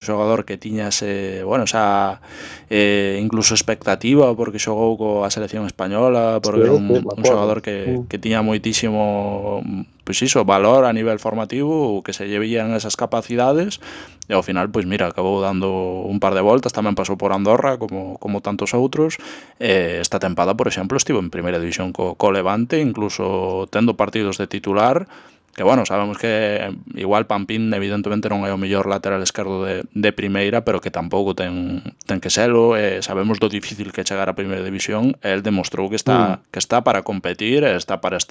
xogador que tiña esa incluso expectativa porque xogou coa selección española, porque era un xogador que tiña moitísimo pois iso, valor a nivel formativo, que se lle veían esas capacidades, e ao final, pois mira, acabou dando un par de voltas, tamén pasou por Andorra como tantos outros. Esta tempada, por exemplo, estivo en primeira división co Levante, incluso tendo partidos de titular, que bueno, sabemos que igual Pampín evidentemente non é o mellor lateral esquerdo de primeira, pero que tampouco ten que selo, sabemos do difícil que chegar a primeira división, e el demostrou que está para competir, está para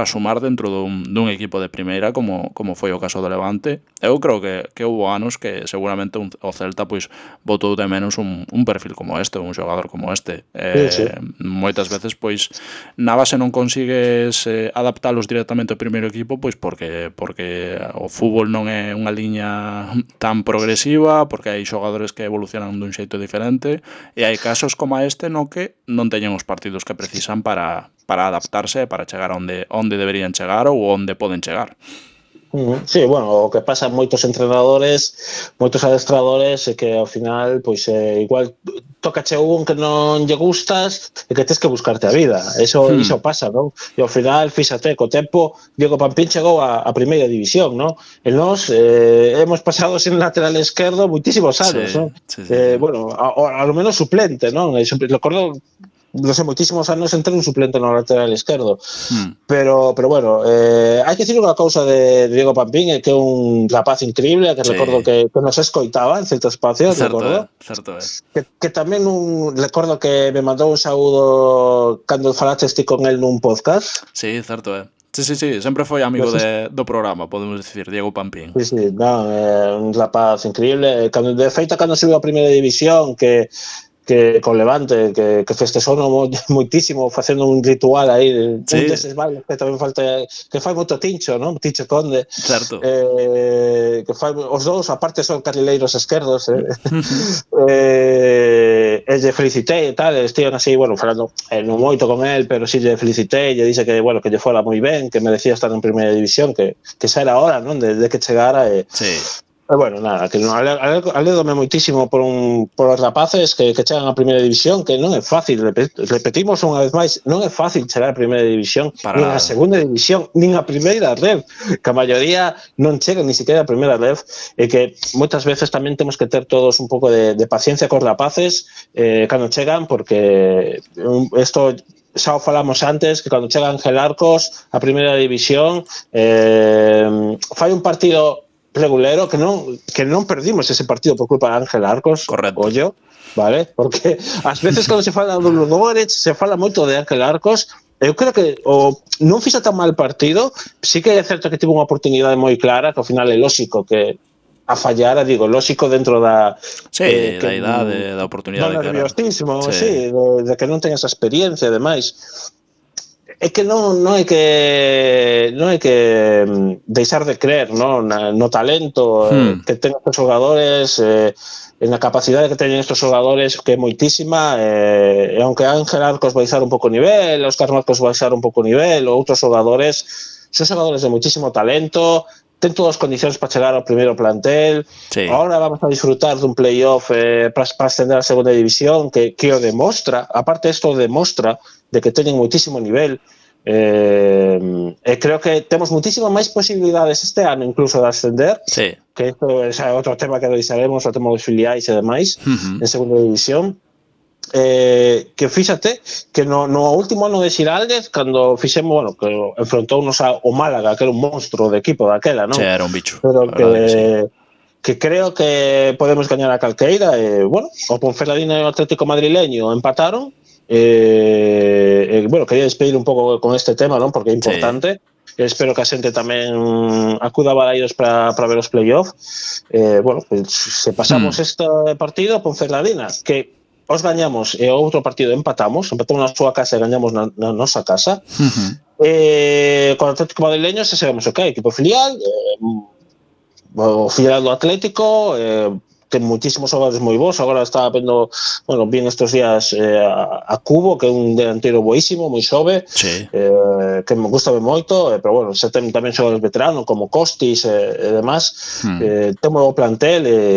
sumar dentro dun equipo de primeira como foi o caso do Levante. Eu creo que houbo anos que seguramente o Celta pois botou de menos un perfil como este, un xogador como este. Moitas veces pois na base non consigues adaptalos directamente ao primeiro equipo, pois porque o fútbol non é unha liña tan progresiva, porque hai xogadores que evolucionan dun xeito diferente, e hai casos como este no que non teñen os partidos que precisan para adaptarse, para chegar onde deberían chegar ou onde poden chegar. Sí, bueno, o que pasa moitos entrenadores, moitos adestradores, é que ao final, pois igual tócache un que non lle gustas e que tes que buscarte a vida. Eso pasa, non? E ao final, fíxate, co tempo, Diego Pampín chegou a primeira división, non? E nós hemos pasado sin lateral esquerdo moitísimos anos, non? Bueno, a lo menos suplente, non? Recordo, non sei, moitísimos anos entre un suplente no lateral esquerdo. Pero bueno, hai que dicir unha cousa de Diego Pampín, que é un rapaz increíble, que recordo que nos escoitaba en certos espacios, recordo. Certo, que tamén recordo que me mandou un saúdo cando falaches ti con el nun podcast. Sí, certo, Sí, sempre foi amigo do programa, podemos dicir, Diego Pampín. Sí, non, un rapaz increíble. De feito, cando subiu a primeira división, que con Levante, que festexou moitísimo facendo un ritual aí, un deses bailes que tamén falta, que fai moito Tincho, non? Tincho Conde. Certo. Que fai os dous, aparte son carrileiros esquerdos, e lle felicitei e tal, estiven así, bueno, falando non moito con el, pero si lle felicitei, lle dixe que, bueno, que lle fora moi ben, que merecía estar en primeira división, que xa era hora, non? De que chegara e... Bueno, nada, que alédome moitísimo por os rapaces que chegan a primeira división, que non é fácil, repetimos unha vez máis, non é fácil chegar a primeira división, nin a segunda división, nin a primeira rev, que a maioría non chegan ni siquiera a primeira rev, e que moitas veces tamén temos que ter todos un pouco de paciencia cos rapaces cando chegan, porque isto xa o falamos antes, que cando chega Ángel Arcos a primeira división fai un partido regulero, que non perdimos ese partido por culpa de Ángel Arcos. Correcto. Ollo, vale? Porque ás veces cando se fala do Ludogorets se fala moito de Ángel Arcos. Eu creo que non fixo tan mal partido, sí que é certo que tivo unha oportunidade moi clara, que ao final é lóxico que a fallara, digo, lóxico dentro da... da idade, da oportunidade que era. Nerviosísimo, de que non ten esa experiencia, ademais. É que non hai que deixar de creer, no talento que ten estes xogadores, en a capacidade que teñen estes xogadores, que é moitísima, e aunque Ángel Arcos baixar un pouco o nivel, Óscar Marcos baixar un pouco o nivel, ou outros xogadores, son xogadores de moitísimo talento, ten todas as condicións para chegar ao primeiro plantel. Ahora vamos a disfrutar dun playoff para ascender a segunda división, que o demostra, aparte isto demostra de que teñen moitísimo nivel, e creo que temos moitísimas máis posibilidades este ano incluso de ascender, que isto é outro tema que deixaremos, o tema dos filiais e demais, en segunda división. Que fíxate que no último ano de Xiraldez, cando fixemos, bueno, que enfrontounos ao Málaga, que era un monstro de equipo daquela, non? Era un bicho. Pero que creo que podemos gañar a calqueira, bueno, o Ponferradina e o Atlético Madrileño empataron. Bueno, quería despedir un pouco con este tema, non? Porque é importante. Espero que a xente tamén acuda a Balaidos para ver os playoffs. Bueno, pues, se pasamos este partido a Ponferradina, que os gañamos e o outro partido empatamos na súa casa e gañamos na nosa casa. Con o Atlético Madrileño se sabemos o que é equipo filial, o filial do Atlético, ten moitísimos xogadores moi bons. Agora estaba vendo, bueno, bien estos días a Cubo, que é un delantero boísimo, moi xove, que me gusta moito, pero bueno, se ten tamén xogadores veteranos como Costis e demás. Temos o plantel